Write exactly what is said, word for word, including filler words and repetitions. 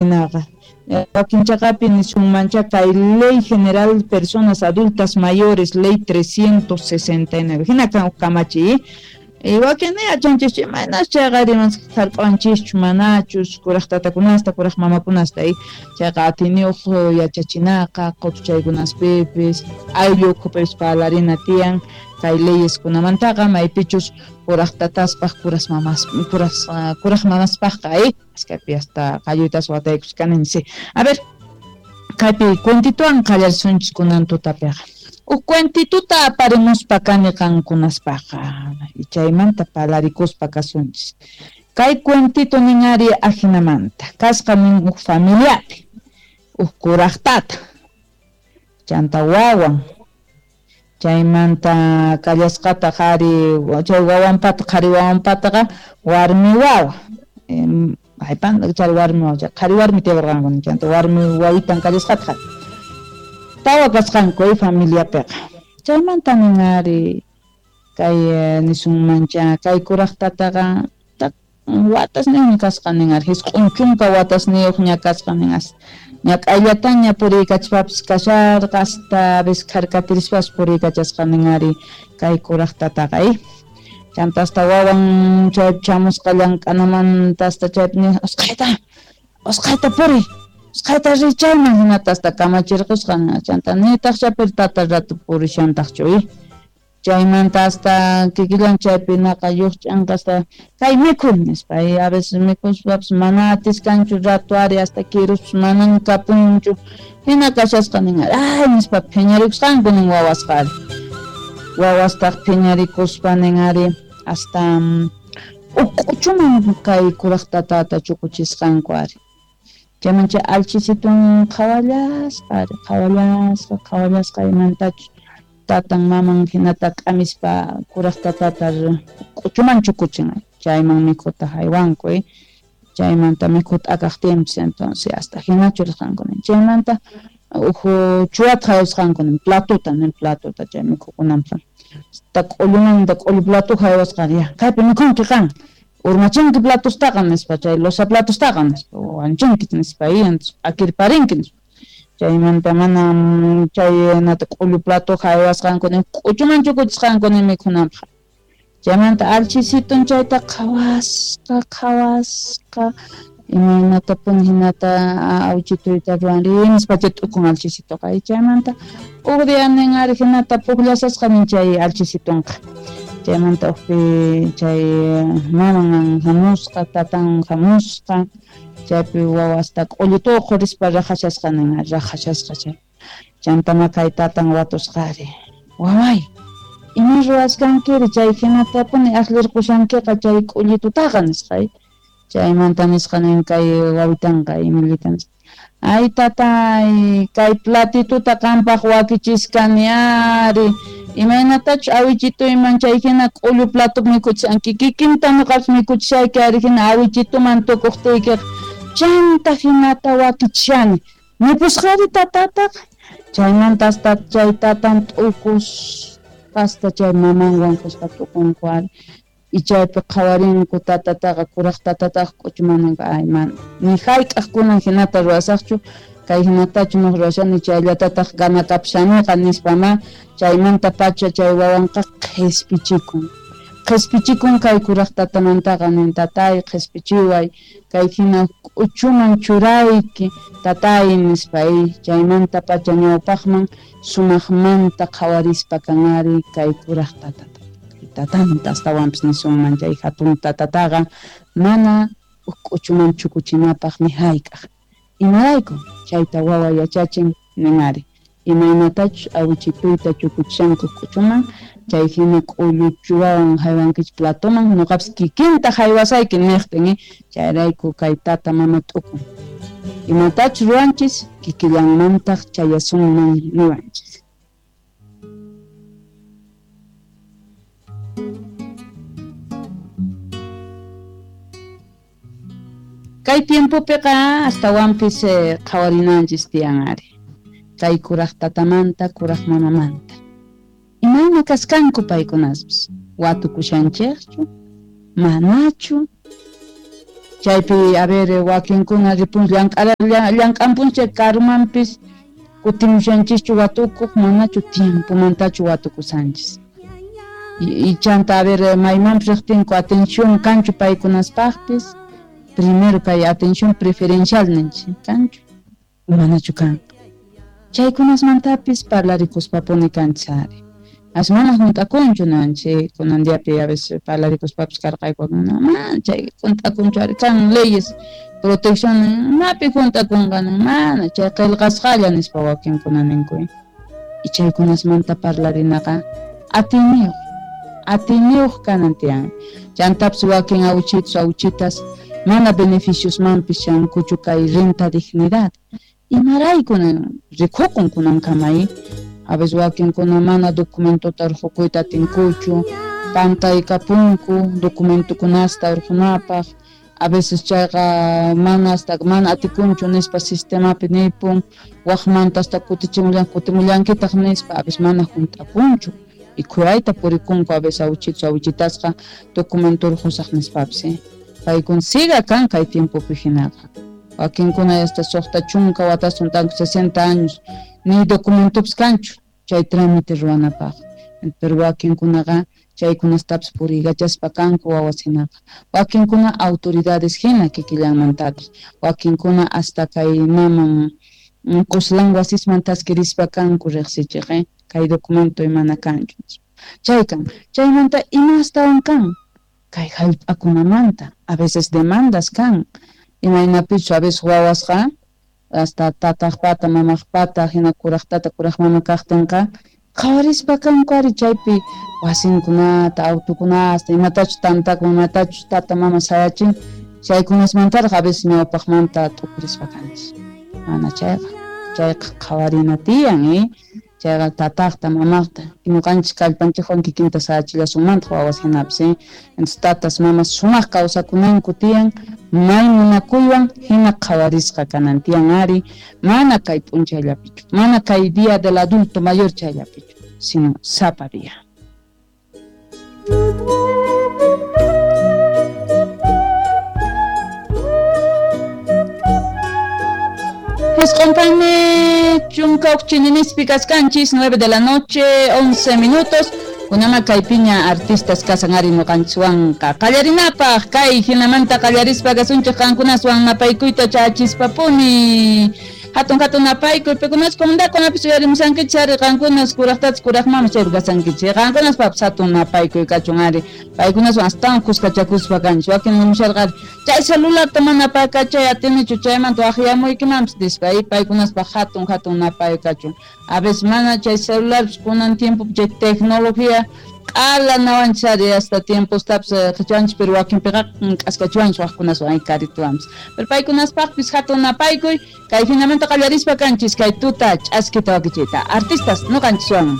Naqa wakin chaqapi nisunmancha kay Ley General Personas Adultas Mayores, Ley trescientos sesenta y nueve, hina kan kamachiy. Y wakin yachanchis imaynas chayqa rimas hark'anchischu manachus kuraq tatakunasta kuraq mamakunasta y chayqa atiniyuq yachachinaqa qutuchaykunaspipis ayllu ukhupipis parlarina tiyan kay leyeskunamantaqa maypichus kuraq tataspaq kuras mamas kuras kuraq mamaspaqqa y kaypi hasta qalluytas wataykuchkanini. A ver, kaypi cuentituwan qallarisunchis kunan tutapiqa. Uj cuentituta aparimuspa kani qankunaspaqa y chaymanta parlarikuspa kasunchis. Kay cuentito nin ari ajinamanta kasqa nin uj familiapi uj kuraq tata chanta wawan chaymanta kallasqata qhari chay wawanpata qhari wawanpataqa warmi wawa aypan chay warmi wawa qhari warmi tiyakurqanku chanta warmi wawitan kallasqata tawa kasqanku familiapiqa chaymanta nin ari kay nisunmancha kay kuraq tataqa watasniyuqña kasqa nin ari hisq'un chunka watasniyuqña kasqa nin as ñak'ayllataña puriykachpapis kasharqa hasta veces kharkatirispas puriykachasqa nin ari kay kuraq tataqa chanta hasta wawan chay chamusqa llank'anamanta hasta chaypi nin usqhayta usqhayta puriy usqhayta riy chayman hinata hasta kamachirqusqa chanta nitaq chaypi tata rato purishantaqchu chaymanta hasta kikillan chaypi naqa lluqch'anqa hasta kay mikhuy nispa y a veces mikhuspapas mana atiskanchu rato ari hasta kiruspas manan kapunchu hina kashasqa nin ay nispa phiñarikusqanku nin wawasqa ari wawastaq phiñarikuspa nin ari hasta uk'uchuman kay kuraq tatata chukuchisqanku ari chayman chay alchisitun qhawallasqa ari qhawallasqa qhawallasqa imantachus tatan maman hinata k'amispa kuraq tatata k'uchuman chukuchin chayman mikhuta haywanku chaymanta mikhuta akaqtinpis entonces hasta hina churasqanku nin chaymanta uj chuwata haywasqanku nin platuta nin platuta chay mikhukunanpaq hasta k'ullumanta k'ullu platu haywasqa ya kaypi mikhunki qan urmachinki platustaqa nispa chay losa platustaqa nispa wanchinki nispa akirparinki nispa chaymanta mana chay nata k'ullu plato haywasqanku nin k'uchuman chukuchisqanku nin mikhunanpaq chaymanta alchisitun chayta qhawasqa qhawasqa imaynatapuni hinata awchituyta ruwanri nispa chay t'ukun alchisituqa chaymanta uj día nin ari hinata pukllasasqa nin chay alchisitunqa chaymanta ujpi chay maman hamusqa tatan hamusqa chaypi wawasta k'ullituqa rispa raqhashasqa nin raqhashasqa chay chantama kay tatan watusqa ari waway ima ruwasqankiri chay hinatapuni aqllirqushankiqa chay k'ullitutaqa nisqa chaymanta nisqa nin kay wawitanqa imillita nisqa ay tatay kay platituta qampaq wakichiskani ari imaynatachus awichituyman chay hina k'ullu platupi mikhuchishanki kikinta ñuqapis mikhuchishayki ari hina awichituman tukuqtiykiqa chanta hinata wakichishani nipusqari tatataqa chaymanta hasta chay tatan t'ukuspa hasta chay mamanwan kusqa t'ukunku ari y chaypi qhawarinku tatataqa kuraq tatataqa k'uchuman ay mana ni hayk'aq kunan hinata ruwasaqchu kay hinatachu nuq ruwashani chayllatataq ganakapshaniqa nispama chaymanta pacha chay wawanqa qhispichikun qhispichikun kay kuraq tatamantaqa nin tatay qhispichiway kay hina k'uchuman churayki tatay nispa chaymanta pacha ñawpaqman sumaqmanta qhawarispa kanari kay kuraq tatata tatanta astawanpis nisunman chay hatun tatataqa mana k'uchuman chukuchinapaq ni hayk'aq imarayku chayta wawa yachachin nin ari imaynatachus awichituyta chukuchishanku k'uchuman chay hina k'ullu chuwawan haywankichik platoman ñuqapis kikinta haywasayki niqtin chayrayku kay tata mama t'ukun imatachus ruwanchis kikillanmantaq chayasunman niwanchis. Kay tiempopiqa astawanpis qhawarinanchis tiyan ari kay kuraq tatamanta kuraq mamamanta imayna kasqanku paykunaspis watukushanchikchu manachu Chaypi a ver wakinkuna ripun llank'ara llank'anpunchik karumanpis kutimushanchischu watukuq manachu tiempomantachu watukusanchis. Y, y chanta a ver maymanpis riqtinku atención kanchu paykunaspaqpis primero kay atención preferencial ninchik kanchu manachu kan. Chaykunasmantapis parlarikuspapuni kanchis ari. As mana junt'akunchu nanchik kunan diapi a veces parlarikuspapis karqayku no mana chay junt'akunchu ari kan leyes protección mapi junt'akunqa mana chay qillqasqalla nispa wakinkuna ninku. Y chaykunasmanta parlarinaqa atiyniyuq atiyniyuq kanan tiyan. Chantapis wakin awichitos awichitas mana beneficiosmanpis chankuchu kay renta dignidad. Imarayku rikukun kunankama a veces wakinkuna mana documentota urqukuyta atinkuchu pantaykapunku documentokunasta urqunapaq a veces chayqa mana hasta mana atikunchu nispa sistemapi nipun waqmanta hasta kutichimullan kutimullankitaq nispa a veces mana junt'akunchu y khuyayta purikunku a veces awichitos awichitasqa documento urqusaq nispapis paykun siga kan kay tiempopi hinaqa. Wakinkuna hasta suqta chunka watas tanku sesenta años ni documentopis kanchu chay trámite ruwanapaq. Pero wakinkunaqa chaykunastapis puriykachaspa kanku wawas hinaqa. Wakinkuna autoridades hina kikillanmantataq. Wakinkuna hasta kay maman quslan wasisman taskirispa kanku riqsichiq eh? Kay documento imana kanchu. Chay kan chaymanta ima astawan kan kay hallp'akunamanta a veces demandas kan. Imaynapichu a veces wawasqa hasta tataqpata mamaqpata hina kuraqtata kuraq mama kaqtinqa qhawarispa kanku ari chaypi wasinkunata autukunasta imatachu tantakun imatachu tata mama sayachin chaykunasmantaraq a veces ñawpaqmanta t'ukurispa kanchis. Mana chayqa chayqa qhawarina tiyan eh chayqa tataqta mamaqta ñuqanchis kallpanchikwan kikinta sayachillasunmantaq wawas hinapis eh entonces tatas mamas sumaq kawsakunanku tiyan may munakuywan hina qhawarisqa kanan tiyan ari mana kay p'unchayllapichu mana kay día del adulto mayor chayllapichu sino sapa día. Escompane chunka uqchininispi kaskanchis nueve de la noche once minutos. Kunama kaypiña artistas kasan ari ñuqanchikwanqa qallarinapaq kay hinamanta qallarispa kasunchik qankunaswan napaykuyta chachispapuni hatun hatun napaykuy pikunas comunidadkunapis uyarimusankichik ari qankunas kuraqtatas kuraq mama chaypi kasankichik qankunaspapas hatun napaykuy kachun ari paykunaswan astawan kuskachakuspa kanchik wakin nimusharqa ari chay celularta mana pakachay atinichu chaymanta waqyamuykimanpis nispa paykunaspaq hatun hatun napay kachun a veces mana chay celularpis kunan tiempo chay tecnología q'ala nawanchis ari hasta tiempostapis qichwanchis pero wakinpiqa k'askachiwanchis waqkunaswan ay karituwanpis pero paykunaspaqpis hatun napaykuy kay hinamanta qallarispa kanchis kay tuta ch'askita wakichiyta artistas ñuqanchiswan.